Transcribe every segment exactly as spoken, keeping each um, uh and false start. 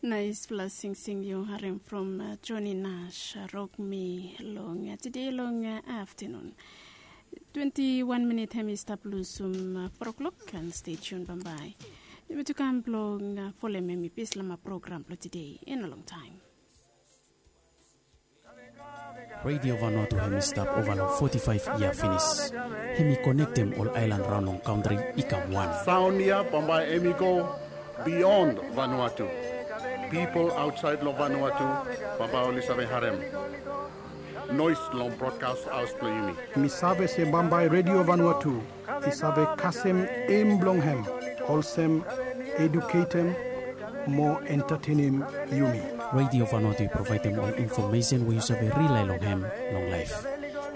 Naispela singsing yu harim from Joni Nash, Rok Mi long tede long aftenun. Twenti wan minit hem i stap lusum fo oklok, and stay tuned bambae. Yumi tu kam blong folem hem i pis long program blong tede in a long taem. Radio Vanuatu hem i stap ova long foti faef yia finis. Hem i konektem ol aelan raon long kantri i kam wan. Saon ya bambae hem i go beyond Vanuatu. Pipol aotsaed long Vanuatu bambae oli save harem noes long brodkas haos blong yumi. Mi save se bambae Radio Vanuatu i save kasem em blong hem olsem eduketem mo entatenem yumi. Radio Vanuatu i provaedem ol infomesen we yu save rilae long hem long laef.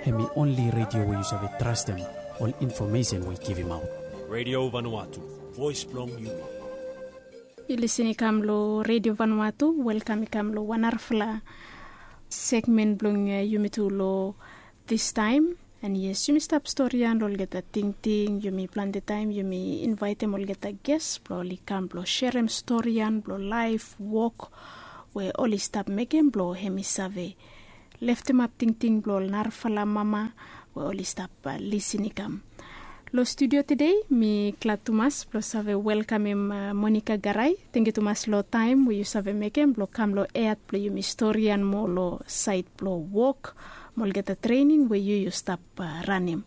Hem i onli radio we yu save trastem ol infomesen we i givimaot. Radio Vanuatu, voes blong yumi. Yu lisin i kam long Radio Vanuatu, welkam i kam long wan narafala segmen blong yumi tu long distaem. And yes, yumi stap storian long olgeta tingting, yumi plante taem yumi invaetem olgeta ges blong oli kam blong serem storian blong laef, wok we oli stap mekem blong hem i save leftemap tingting blong ol narafala mama we oli stap lisin i kam. Long studio tede mi glad tumas blong save welkamem Monika Garai. Tangkiu tumas long taem we yu save mekem blong kam long eat blong yumi storian moa long saed blong wok mo olgeta trening we yu yu stap ranem.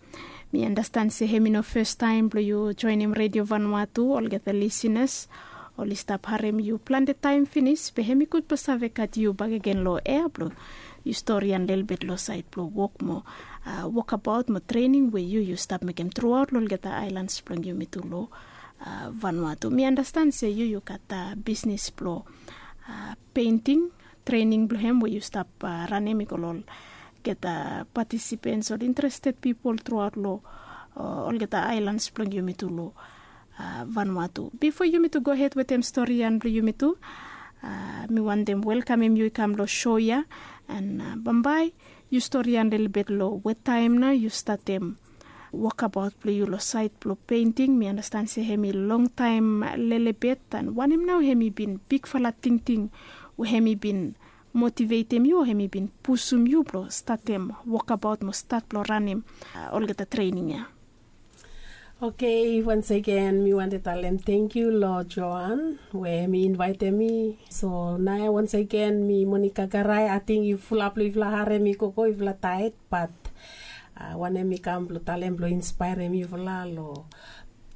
Mi andastan se hem i no fastaem blong yu joenem Radio Vanuatu, olgeta lisinas oli stap harem yu plante taem finis, be hem i gud blong save gat yu bakegen long ea blong yu storian lelebet long saed blong wok mo wokabaot mo trening we yu yu stap mekem truaot long olgeta aelans blong yumi tu long Vanuatu. Mi andastan se yu yu gat bisnis blong peinting, trening blong hem we yu stap ranem i go long olgeta patisipens, ol interested pipol truaot long olgeta aelans blong yumi tu long Vanuatu. Bifo yumi tu gohed wetem storian blong yumi tu, mi wantem welkamem yu i kam long so ya. And bambae yu storian lelebet long wetaem nao yu statem wokabaot blong yu long saed blong peinting. Mi andastan se hem i longtaem lelebet, and wanem nao hem i bin bigfala tingting we hem i bin motivetem yu o hem i bin pusum yu blong statem wokabaot mo stat blong ranem olgeta trening ya? Oke, wansegen mi wantem talem tangkiu long Joan we hem i invaetem mi. So nao wansegen mi Monika Garai, ating yufala blong yufala harem mi gogo yufala taet, bat wanem mi kam blong talem blong inspaerem yufala long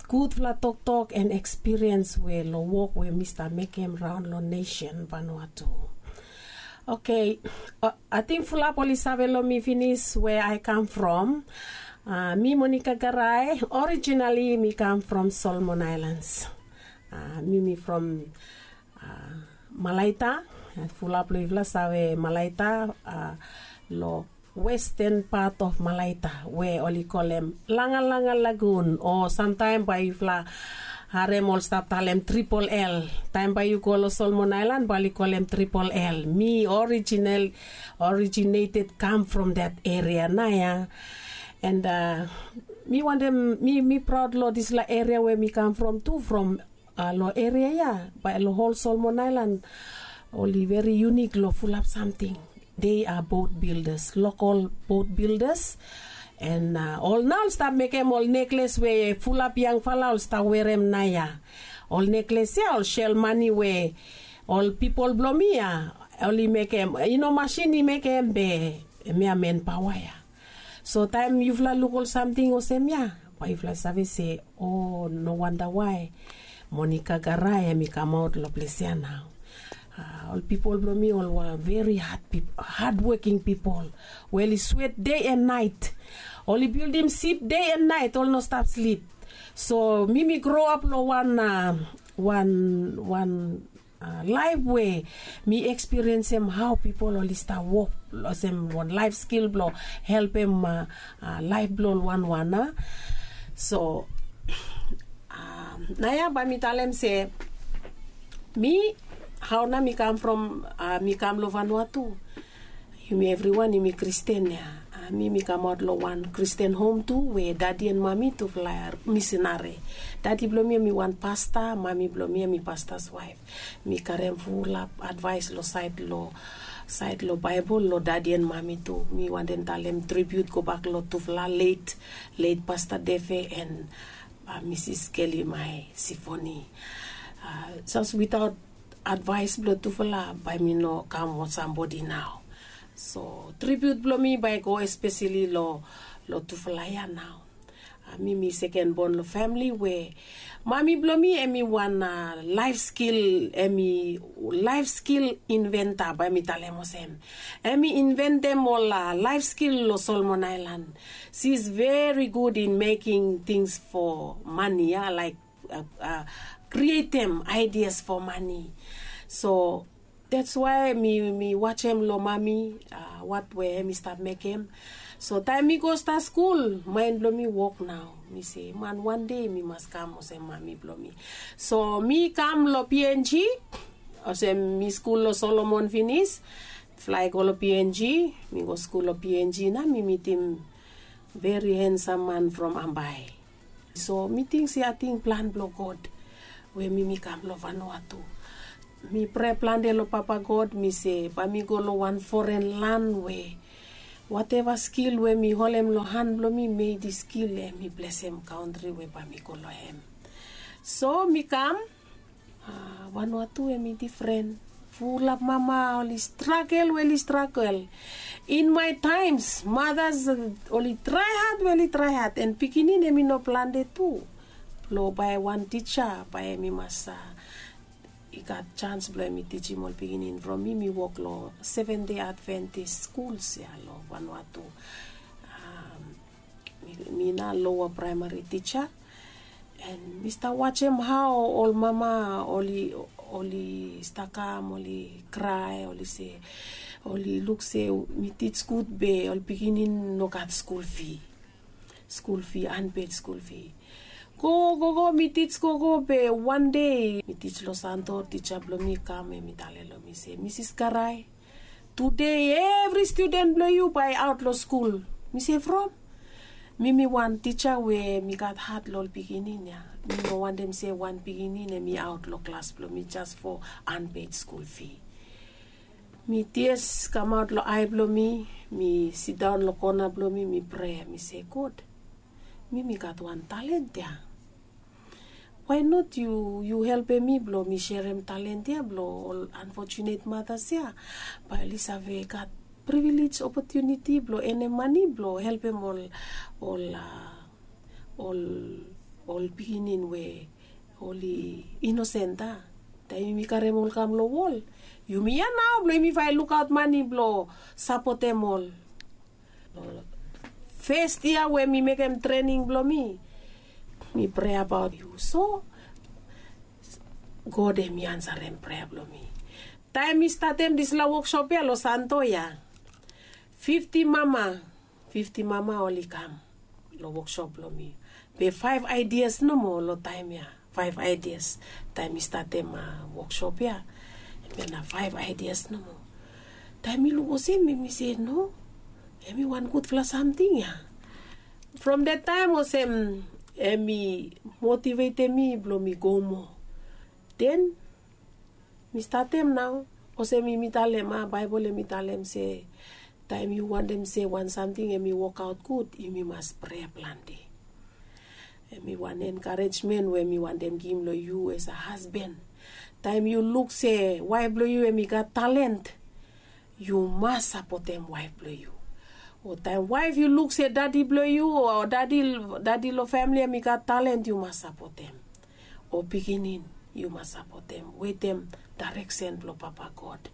gudfala toktok and ekspiriens we long wok we mi stap mekem raon long nesen Vanuatu. Oke, ating fulap oli save long mi finis we ae kam from. Mi Monika Garai, orijinali mi kam from Solomon Aelans. Mi mi from Malaita. Fulap long yufala save Malaita long westen pat of Malaita we oli kolem Langalanga Lagun, o samtaem bae yufala harem ol stap talem Tripol L. Taem bae yu go long Solomon Aelan bae oli kolem Tripol L. Mi orijinal, originated, kam from that eria nao ya. And mi wantem, mi mi praod long disfala eria we mi kam from tu, from long eria ya, bae long hol Solomon Aelan oli veri yunik long fulap samting. They are boat builders, local boat builders. And ol nao ol stap mekem ol nekles we fulap yangfala ol stap werem nao ya. Ol nekles ya ol sel mane we ol pipol blong mi ya oli mekem, i no masin i mekem be hemia manpaoa ya. So taem yufala luk ol samting olsem ya, bae yufala save se, o, no wanda wae Monika Garai hem i kamaot long ples ya nao. Ol pipol blong mi ol were veri hadwoking pipol we oli swet dei and naet. Oli bildim sip dei and naet, oli no stap slip. So mi mi groap long wan, wan, wan laef we mi ekspiriensem hao pipol oli stap wok olsem wan laef skil blong helpem laef blong ol wanwan. So nao ya bae mi talem se mi, hao nao mi kam from, mi kam long Vanuatu. Yumi evriwan yumi Kristin ya. Mi mi kamaot long wan Kristen hom tu we dadi en mami tufala misinari. Dadi blong mi em i wan pasta, mami blong mi em i pastas waef. Mi karem fulap advaes long saed long saed long Baebol long dadi en mami tu. Mi wantem talem tribiut gobak long tufala let let pasta Defe en Misis Keli Mae Sifoni. Jes witaot advaes blong tufala bae mi no kam wan sambodi nao. So tribiut blong mi bae i go espeseli long tufala ya nao. Mi mi seken bon long famili we mami blong mi em i wan laef skil, em i laef skil inventa bae mi talem olsem. Em i inventem ol laef skil long Solomon Aelan. Si is veri gud in meking tings fo mani ya, laek krietem aidias fo mani. So dats wae mi wajem long mami wat we em i stap mekem. So taem mi go stat skul, maen blong mi wok nao. Mi se man wan dei mi mas kam olsem mami blong mi. So mi kam long P N G, olsem mi skul long Solomon finis, flae go long P N G. Mi go skul long P N G nao mi mitim veri hensam man from Ambae. So mi ting se ating plan blong God we mi mi kam long Vanuatu. Mi prea plante long Papa God, mi se bae mi go long wan foren lan we wateva skil we mi holem long han blong mi, mei dis skil em i blesem kantri we bae mi go long hem. So mi kam. Vanuatu em i difren. Fulap mama oli stragel we oli stragel. In mae taems matas oli trae had we oli trae had, en pikinini em i no plante tu. Blong bae wan tija bae em i mas i gat jans blong em i tijim ol pikinini. From mi mi wok long Seven Day Adventist skuls ya long Vanuatu. Mi nao loa praemari tija. En mi stap wajem hao ol mama oli oli stap kam oli krae, oli se, oli luk se mi tij gud be ol pikinini no gat skul fi. Skul fi, anped skul fi. Gogo gogo mi tij gogo be wan dei mi tij long Santo, tija blong mi i kam, em i talem long mi se, Misis Karae, tude evri studen blong yu bae i aot long skul. Mi se from? Mi mi wan tija we mi gat hat long ol pikinini ya. Mi no wantem se wan pikinini em i aot long klas blong mi jes fo anped skul fi. Mi tias kamaot long ae blong mi. Mi sidaon long kona blong mi, mi prea, mi se, God, mi mi gat wan talent ya. Wae not yu yu helpem mi blong mi serem talent ya blong ol anfojunet matas ya, bae oli save gat privilej, opotuniti blong enem mane blong helpem ol ol ol pikinini we oli inosen. Taem yumi karem ol kam long wol, yumi ya nao blong yumi fael lukaot mane blong sapotem ol. Fes yia we mi mekem trening blong mi, mi prea abaot yu. So God hem i ansarem prea blong mi. Taem mi statem dispela woksop ya long Santo ya, fifti mama, fifti mama oli kam long woksop blong mi. Be faef aidias nomo long taem ya. Faef aidias. Taem mi statem woksop ya, hemia na faef aidias nomo. Taem mi luk olsem, mi mi se no, hem i wan gudfala samting ya. From dat taem olsem, hem i motivetem mi blong mi go moa. Den mi statem nao, olsem yumi talem a, Baebol hem i talem se taem yu wantem se wan samting hem i wokaot gud, yumi mas prea plante. Hem i wan enkarejmen we mi wantem givim long yu as a hasban. Taem yu luk se waef blong yu hem i gat talent, yu mas sapotem waef blong yu. O taem waef yu luk se dadi blong yu o dadi dadi long famili hem i gat talent, yu mas sapotem. O pikinini, yu mas sapotem wetem daereksen blong Papa God.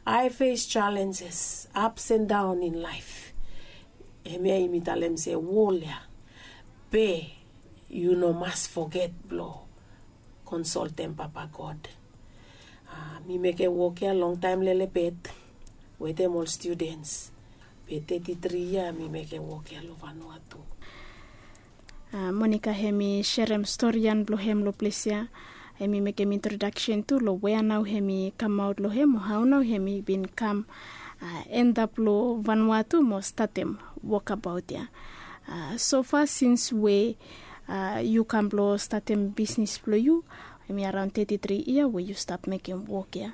I face challenges, ups and down in life. Hemia yumi talem se wol ya. Be yu no mas foget blong konsoltem Papa God. Mi mekem wok ya longtaem lelebet wetem ol studens. Be teti tri yia mi mekem wok ya long Vanuatu. Monika hem i serem storian blong hem long ples ya. Hem i mekem introdaksen tu long wea nao hem i kamaot long hem, o hao nao hem i bin kam endap long Vanuatu mo statem wokabaot ya. Sofa sins we yu kam blong statem bisnis blong yu, hemi araon teti tri yia we yu stap mekem wok ya.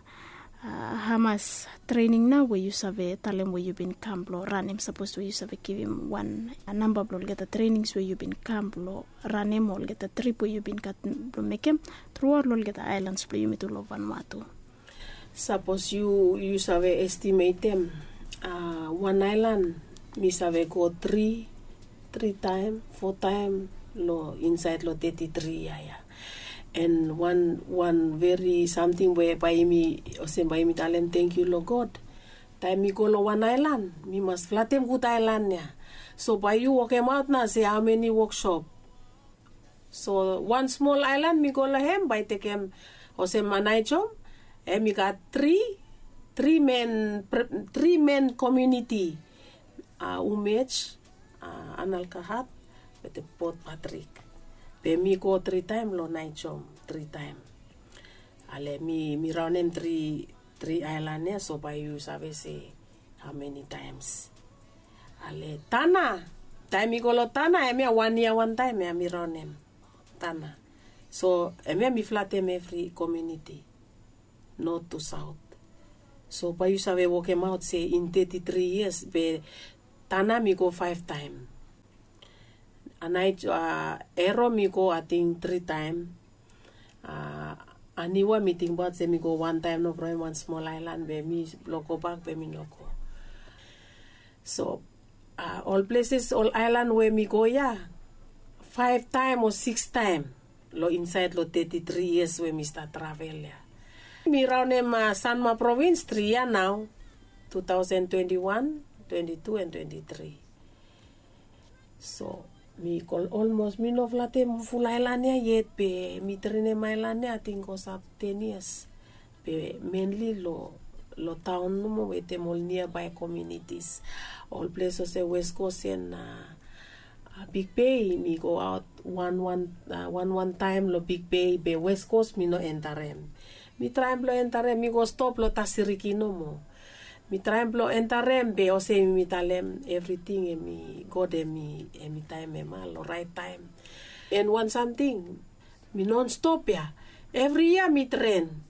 Hamas trening nao we yu save talem we yu bin kam blong ranem, sapos we yu save givim wan namba blong olgeta trenings we yu bin kam blong ranem o olgeta trip we yu bin gat blong mekem truaot long olgeta aelans blong yumi tu long vanua tu? Sapos yu yu save estimetem wan aelan, mi save go tri tri taem fo taem long insaed long teti tri yia ya. An wan wan veri samting we bae yumi olsem bae yumi talem tangkiu long God. Taem mi go long wan aelan mi mas flatem gud aelan ya. So bae yu wokemaot nao se hao meni woksop. So wan smol aelan mi go long hem bae tekem olsem Anaijom, hem i gat tri tri men tri men komiuniti, Umej, Analkahat wetem Port Patrick. Be mi go tri taem long Anaijom tri taem. Ale mi mi raonem tri tri aelan ya, so bae yu save se hao meni taems. Ale Tanna, taem mi go long Tanna hemia wan yia wantaem ya mi raonem Tanna. So hemia mi flatem evri komiuniti, not tu saot. So bae yu save wokemaot se in teti tri yias be Tanna mi go faef taem. Anaij Ero mi go ating tri taem. Aniwa mi tingbaot se mi go wantaem no from wan smol aelan be mi blong gobak be mi no go. So ol pleses ol aelan we mi go ya faef taem o siks taem long insaed long teti tri yias we mi stat travel ya. Mi raonem Sanma provins tri yia nao, tu taosen twenti wan, twenti tu an twenti tri. So mi go olmos mi no flatem ful aelan ya yet be mi trenem aelan ya ating go stap ten yias. Be menli long long taon nomo wetem ol niabae komiunitis. Ol ples olsem West Coast an Big Bay mi go aot wan wan wan wan taem long Big Bay be West Coast mi no entarem. Mi traem blong entarem mi go stop long Tasiriki nomo. Mi traem blong entarem be olsem yumi talem evriting hemi God hemi hemi taem hema long raet taem. An wan samting mi non stop ya. Evri yia mi tren.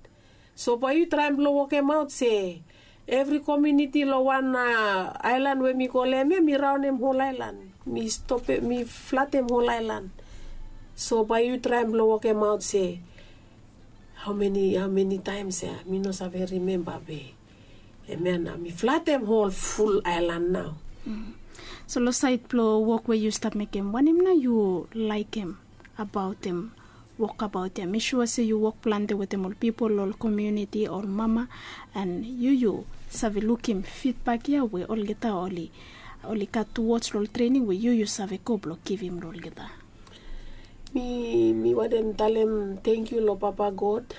So bae yu traem blong wokemaot se evri komiuniti long wan aelan we mi go long hem ya mi raonem hol aelan. Mi stopem mi flatem hol aelan. So bae yu traem blong wokemaot se hao meni hao meni taems ya mi no save rimemba be hemia nao mi flatem hol ful aelan nao. So long saed blong wok we yu stap mekem wanem nao yu laekem abaotem wokabaot ya? Mi sua se yu wok plante wetem ol pipol ol komiuniti ol mama, an yu yu save lukim fidbak ya we olgeta oli oli gat tuwoj long ol trening we yu yu save go blong givim long olgeta. Mi mi wantem talem tangkiu long Papa God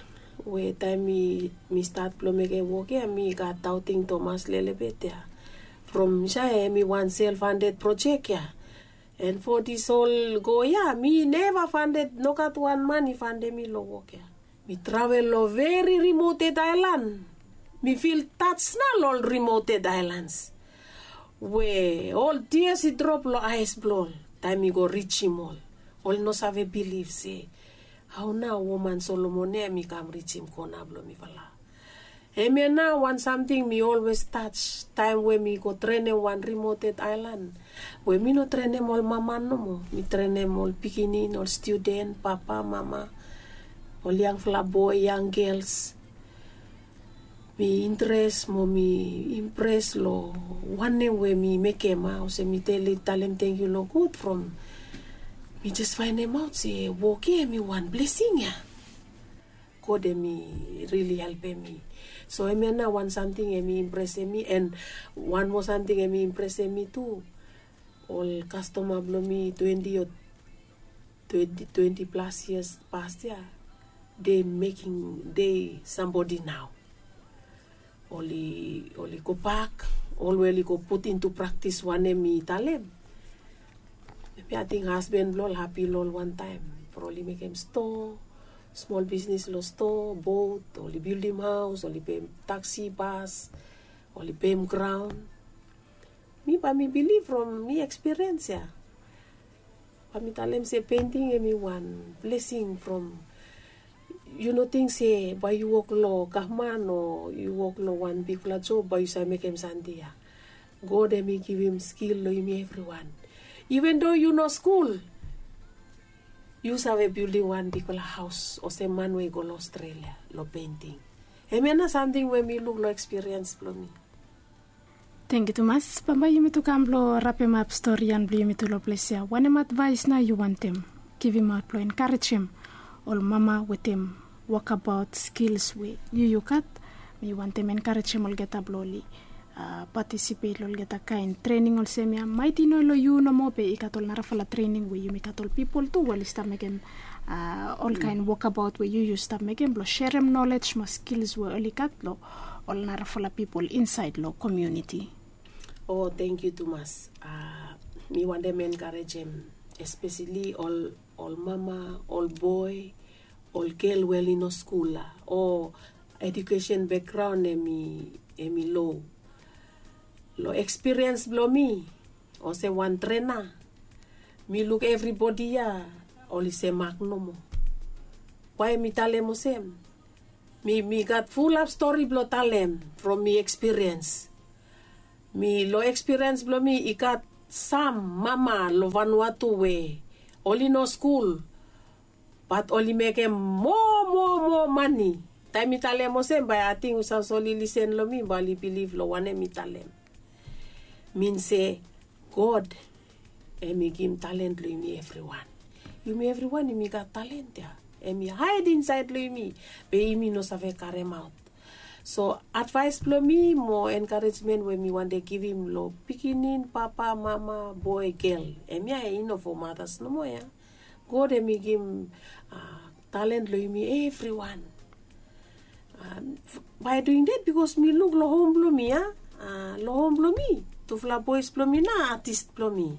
we taem mi mi stat blong mekem wok ya mi gat daoting tomas lelebet ya. From sae hemi wan self handed projek ya. An fo dis ol go ya mi neva fanded, nogat wan man i fandem mi long wok ya. Mi travel long veri rimoted aelan. Mi fil taj nao long ol rimoted aelans we ol tias i drop long aes blong ol taem mi go rijim ol. Ol no save bilif se hao nao woman Solomon ya mi kam rijim kona blong mifala. Hemia nao wan samting mi olwes taj taem we mi go trenem wan rimoted aelan we mi no trenem ol mama nomo. Mi trenem ol pikinini, ol studen, papa, mama, ol yangfala boe, yang gels. Mi intres mo mi impres long wanem we mi mekem a olsem mi talem tangkiu long God from mi jes faenemaot se wok ya hemi wan blesing ya. God hemi rili helpem mi. So hemia nao wan samting hemi impresem mi an wan moa samting hemi impresem mi tu. Ol kastoma blong mi twenti o twenti twenti plas yias pas ya, dei mekim dei sambodi nao. Oli oli gobak, ol we oli go put intu praktis wanem mi talem. Hemi ating hasben blong ol hapi long ol wantaem from oli mekem stoa, smol bisnis long stoa, bot, oli bildim haos, oli peim taksi, bas, oli peim graon. Mi bae mi bilif from mi ekspiriens ya. Bae mi talem se penting em i wan blesing from yu no ting se bae yu wok long gavman o yu wok long wan bikpela job bae yu save mekem sante ya. God em i givim skil long yumi evriwan. Even do yu no skul, yu save bildim wan bikpela haus olsem man we i go long Australia long penting. Em ya na samting we mi luk long ekspiriens bilong mi. Tengyu tumas. Bambae yumi tu kam blong rapemap stori yan blong yumi tu long ples ya, wanem advais nao yu wantem givimaot blong enkarejem ol mama wetem wokabaot skils we yu yu gat? Mi wantem enkarejem olgeta blong oli patisipet long olgeta kain trening olsem ya, maet i no long yu nomo be i gat ol narafala trening we yumi gat ol pipol tu we oli stap mekem ol kain wokabaot we yu yu stap mekem blong serem nolej mo skils we oli gat long ol narafala pipol insaed long komuniti. O, tengyu tumas. Mi wantem enkarejem espeseli ol ol mama, ol boe, ol gel we oli no skul ya o edukesen bekgraon em i em i lo. Long ekspiriens blong mi olsem wan trena, mi luk evribodi ya oli semak nomo. Wae mi talem olsem? Mi mi gat fulap stori blong talem from mi ekspiriens. Mi long ekspiriens blong mi i gat sam mama long Vanuatu we oli no skul, bat oli mekem moa moa moa mani. Taem mi talem olsem bae ating sapos oli lisen long mi bae oli bilif long wanem mi talem. Min se God em i givim talen long yumi evriwan. Yumi evriwan yumi gat talen ya, em i haed insaed long yumi, be yumi no save karemaot. So advaes blong mi mo enkarejmen we mi wante givim long pikinini, papa, mama, boe, gel, em ya i no fo matas nomo ya. God em i givim talen long yumi evriwan. Bae duing det bikos mi luk long hom blong mi ya, long hom blong mi tufala boes blong mi na atis blong mi.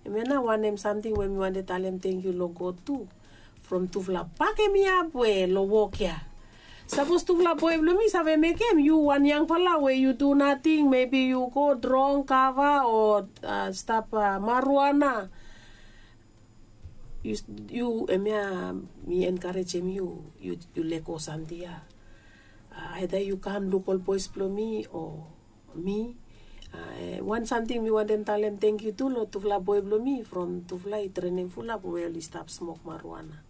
Em ya na wanem samting we mi wante talem tengyu long God tu, from tufala bakem mi ap we long wok ya. Sapos tufala boe blong mi save mekem yu wan yangfala we yu du nating, mebi yu go drong kava o stap maruana. Yu yu em ya mi enkarejem yu, yu lego samting ya. Aeda yu kam luk ol boes blong mi o mi. Wan samting mi wantem talem tengyu tu long tufala boe blong mi from tufala i trenem fulap we oli stap smok maruana.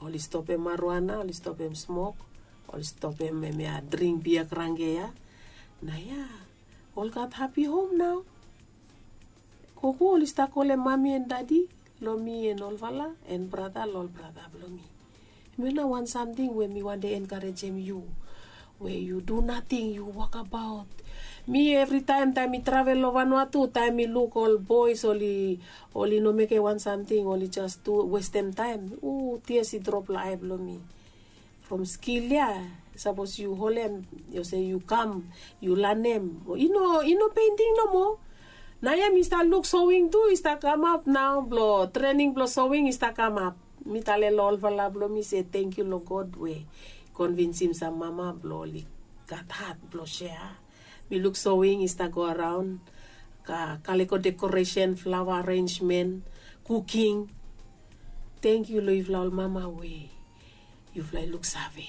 Oli stopem maruana, oli stopem smok, oli stopem em ya dring bia kranke ya. Na ya ol gat hapi hom nao. Gogo oli stap kolem mami en dadi long mi en olfala en brata long ol brata blong mi. Em ya na wan samting we mi wante enkarejem yu, we yu du nating, yu wokabaot. Mi evritaem taem mi travel long Vanuatu, taem mi luk ol boes oli oli no mekem wan samting, oli jas tu westem taem. U, tias i drop long ae blong mi. From skil ya sapos yu holem, yu se yu kam, yu lanem, i no i no penting nomo. Naoia mi stap luk sowing tu i stap kamap nao, blong trening blong sowing i stap kamap. Mi talem long olfala blong mi se tengyu long God we i konvinsim sam mama blong oli gat hat blong sea. Mi luk sowing i stap go araon, kaliko dekoresen, flawa arenjmen, kuking. Tengyu long yufala ol mama we yufala i luksave.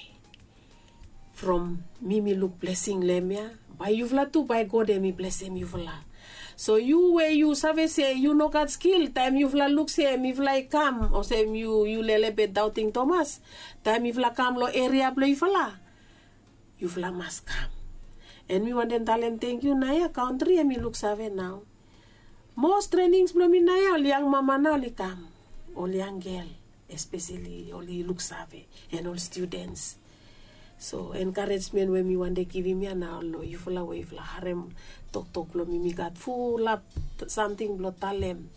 From mi mi luk blesing long em ya, bae yufala tu bae God hem i blesem yufala. So yu we yu save se yu no gat skil, taem yufala luk se mifala i kam olsem yu yu lelebet daoting tomas, taem mifala kam long eria blong yufala, yufala mas kam. An mi wantem talem tengyu naoia kantri hem i luksave nao. Mos trenings blong mi naoia ol yang mama nao oli kam, ol yang gel, espeseli oli luksave, an ol studens. So enkaresmen we mi wantem givim ya nao long yufala we yufala harem toktok blong mi, mi gat fulap samting blong talem.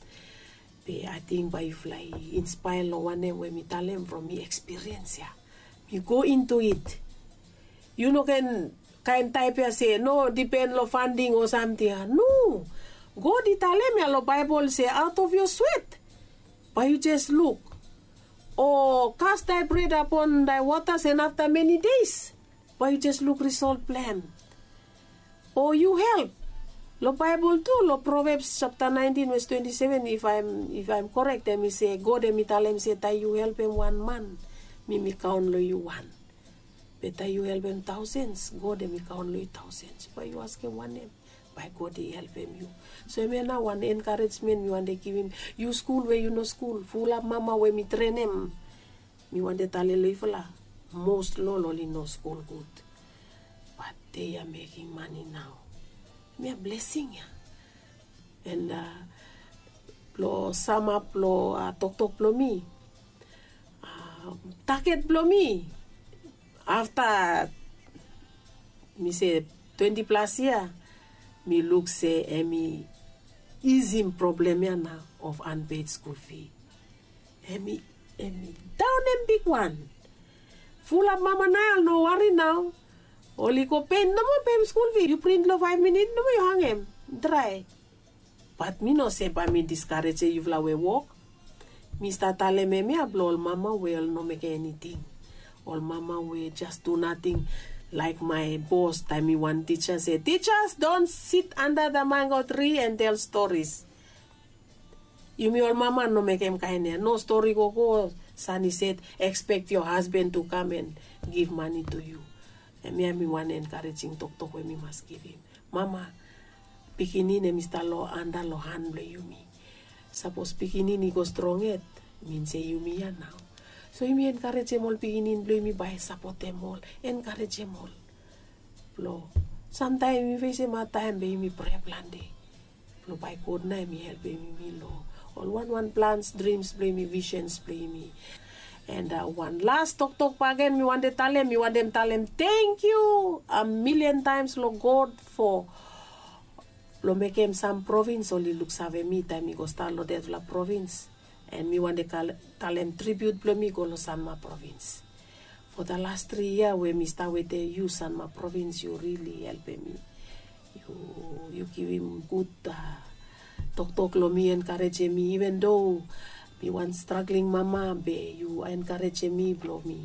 Be ating bae yufala i inspaea long wanem we mi talem from mi ekspiriens ya. Mi go intu it. Yu no ken kaen taep ya se no dipen long fanding o samting ya. No. God i talem ya long Baebol se aot of yo swet bae yu jes luk, o kas dae bred apon dae wota sen afta meni deis bae yu jes luk risol blong hem. O yu help Long Baebol tu, long Provebs japta naentin ves twenti seven, if aem if aem korek, em i se God em i talem se taem yu helpem wan man, mi mi kaon long yu wan. Be taem yu helpem taosens, God em i kaon long yu taosens. Bae yu askem wanem, bae God i helpem yu. So hemia nao wan enkarejmen mi wantem givim yu skul we yu no skul, fulap mama we mi trenem. Mi wantem talem long yufala, mos long ol oli no skul gud. Bat dei ya mekem mane nao. Hemia blesing ya. And blong samap long toktok blong mi, taget blong mi afta mi se twenti plas yia, mi luk se hemi isim problem ya nao of anped skul fi. Hemi hemi daonem bigwan. Fulap mama nao oli no wari nao. Oli go pent nomo pem skul fi, yu print long faef minit nomo yu hangem, drae. Bat mi no se bae mi diskarejem yufala we wok. Mi stap talem hemia blong ol mama we oli no mekem eniting. Ol mama we jas du nating. Laek mae bos taem mi wan tija se, tijas, don sit anda da mango tri and tel storis. Yumi ol mama no mekem kaen ya, no stori gogo, san i set, ekspek yo hasben tu kam and giv mane tu yu. Hemia mi wan enkarejing toktok we mi mas givim. Mama, pikinini hemi stap long anda long han blong yumi. Sapos pikinini i go strong yet, min se yumi ya nao. So yumi enkarejem ol pikinini blong yumi bae sapotem ol, enkarejem ol. Blong samtaem yumi fesem hadtaem be yumi prea plante. Blong bae God nao hemi helpem yumi long ol wanwan plans, drims blong yumi, visens blong yumi. And wan las toktok bakegen mi wantem talem, mi wantem talem tangkiu a milian taems long God fo long mekem sam provins oli luksave mi taem mi go stat long detfala provins. And mi wantem talem tribiut blong mi go long Sanma provins. Fo da las tri yia we mi stap wetem yu Sanma provins, yu rili helpem mi. Yu givim gud toktok long mi, enkarejem mi, iven do mi wan stragling mama, be yu enkarejem mi blong mi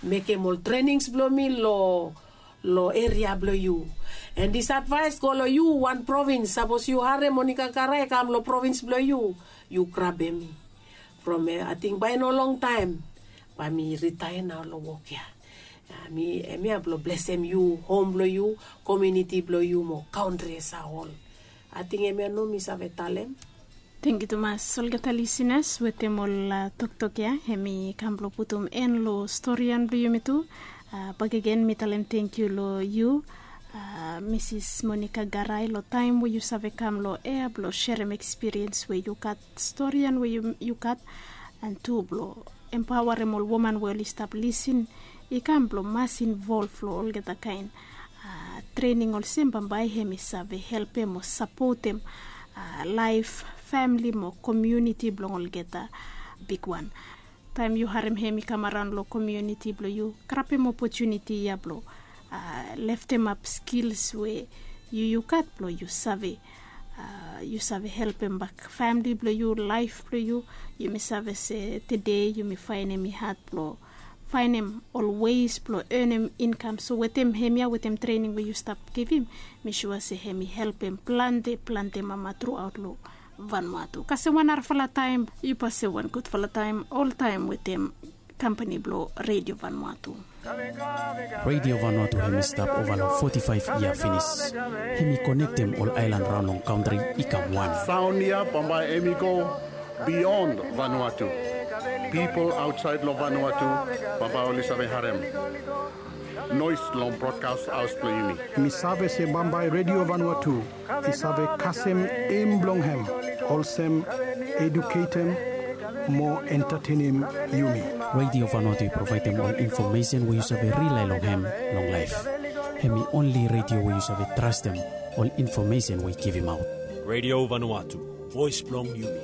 mekem ol trenings blong mi long long eria blong yu. And dis advaes go long yu wan provins, sapos yu harem Monika Garai i kam long provins blong yu, yu grabem mi. From ya ating bae no longtaem bae mi ritaea nao long wok ya. Hemia blong blesem yu, hom blong yu, komuniti blong yu mo kantri as a hol. Ating hemia nao mi save talem. Tangkiu tumas olgeta lisinas wetem ol toktok ya. Hemi kam blong putum en long storian blong yumi tu. Bakegen mi talem tangkiu long yu, Misis Monika Garai, long taem we yu save kam long ea blong serem ekspiriens we yu gat, storian we yu gat, and tu blong empaoarem ol woman we oli stap lisin i kam blong mas involv long olgeta kaen trening olsem bambae hemi save helpem o sapotem laef, famili mo komuniti blong olgeta bigwan. Taem yu harem hemi kam araon long komuniti blong yu, grabem opotuniti ya blong leftemap skils we yu yu gat blong yu save yu save helpem bak famili blong yu, laef blong yu. Yumi save se tede yumi faenem i had blong faenem ol weis blong enem inkam. So wetem hemia, wetem trening we yu stap givim, mi sua se hemi helpem plante plante mama truaot long Vanuatu. Kasem wan narafala taem, yu pasem wan gudfala taem oltaem wetem kampani blong Redio Vanuatu. Redio Vanuatu hemi stap ova long foti faef yia finis. Hemi konektem ol aelan raon long kantri i kam wan. Saon ya bambae hemi go bion Vanuatu. Pipol aotsaed long Vanuatu bambae oli save harem noes long brodkas haos blong yumi. Mi save se bambae Redio Vanuatu i save kasem em blong hem olsem eduketem mo entatenem yumi. Redio Vanuatu i provaedem ol infomesen we yu save rilae long hem long laef. Hemi onli redio we yu save trastem ol infomesen we i givimaot. Redio Vanuatu, voes blong yumi.